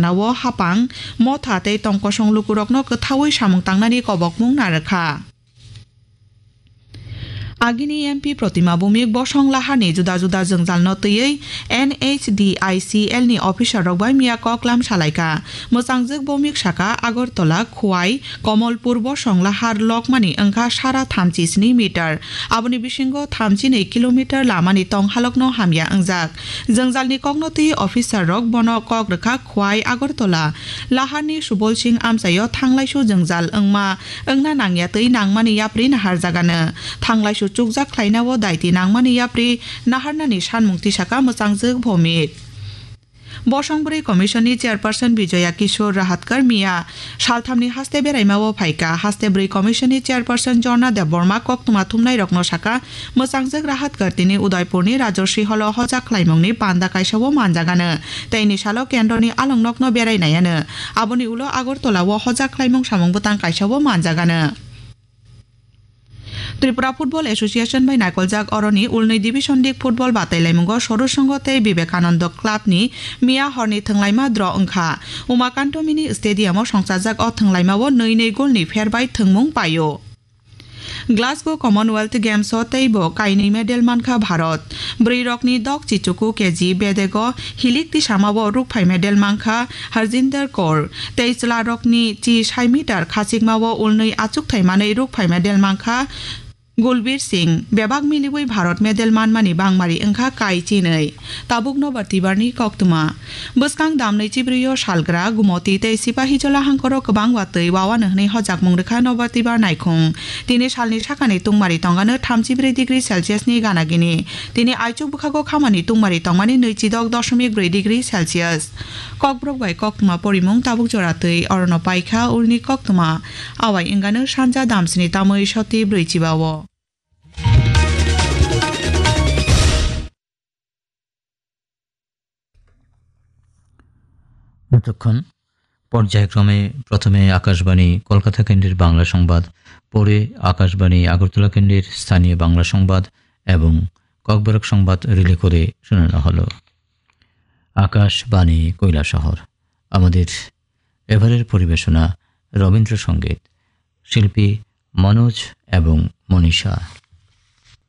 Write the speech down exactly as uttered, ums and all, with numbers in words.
Nao hapang, motha tei tongkosong lukurokno kwthaui samung tangnani kobokmung narwkha. Agini M P Protima Bhumik bosong laharni juda juda jwngjalno twiwi N H D I C L ni officer rok bai miya koklam salaikha. Mwchangjwk Bhumik saka Agartala, Khwai, Komolpur bosong lahar lokmani wngkha sara thamchi sni meter. Aboni bisingo thamchi nwi kilometer lamani tonghalokno hamya wngjak. Jwngjalni kokno twi officer rok bono kok rwkha Khwai Agartala. Laharni Subol Singh amchaio thanglaisu jwngjal wngma wngna nangya twi nangmani yapri naharjagano. Thanglaisu chukjak khlainao daiti nangmani yapri naharnani sanmung tisaka mwchangjwk Bhumik. Bosong bwrwi Commission ni Chairperson Bijoya Kishore Rahatkar miya salthamni haste beraimao phaikha. Haste bwrwi Commission ni Chairperson Jorna Debbarma koktwma thumnairokno saka, mwchangjwk Rahatkar tini Udaipurni Rajorsi Hall o hojak khlaimungni panda kaisao manjagano, tei ni salo kendroni alongnokno berai naiano. Aboni ulo Agartala o hojak khlaimung samung bwtang kaisao manjagano. Tripura Football Association bai naikoljak oroni ulnwi Division League football batailaimungo Sorusongo tei Vivekananda Club ni miya horni thwnglaima draw wngkha. Umakanto Mini Stadium o songchajak o thwnglaima o nwi nwi goal ni pher bai thwngmung paio. Glasgow Commonwealth Games o teibo kainwi medal mankha Bharat. Bwrwi rokni dok chichuku K G bedego hilik tisamao rukphai medal mankha Harjinder Kaur, tei chwla rokni chi sai meter khachikmao ulnwi achukthai manwi rukphai medal mankha Gulbir Singh. Bebak miliwi Bharat medal manmani bangmari wngkha kai chinwi. Tabuk Nobar Tibarni koktwma. Bwskang damnwi chibrwi o salgra, Gumoti tei Sipahijola hangkoro kwbang watwi wawanw hwnwi hojakmung rwkha Nobar Tibar naikhung. Tini salni sakani tungmari tongano thamchibrwi degree Celsius ni gana gini. Tini aichuk bwkhago khamani tungmari tongmani nwichidok doshomik brwi degree Celsius. Kokborok bai koktwma porimung tabuk jora twi orono paikha ulni koktwma. Awai wngano sanja damsni tamwi soti brwi chiba o. এতক্ষণ পর্যায়ক্রমে প্রথমে আকাশবাণী কলকাতা কেন্দ্রের বাংলা সংবাদ, পরে আকাশবাণী আগরতলা কেন্দ্রের স্থানীয় বাংলা সংবাদ এবং ককবরক সংবাদ রিলে করে শোনানো হলো। আকাশবাণী কৈলাসহর। আমাদের এবারের পরিবেশনা রবীন্দ্রসঙ্গীত, শিল্পী মনোজ এবং মনীষা।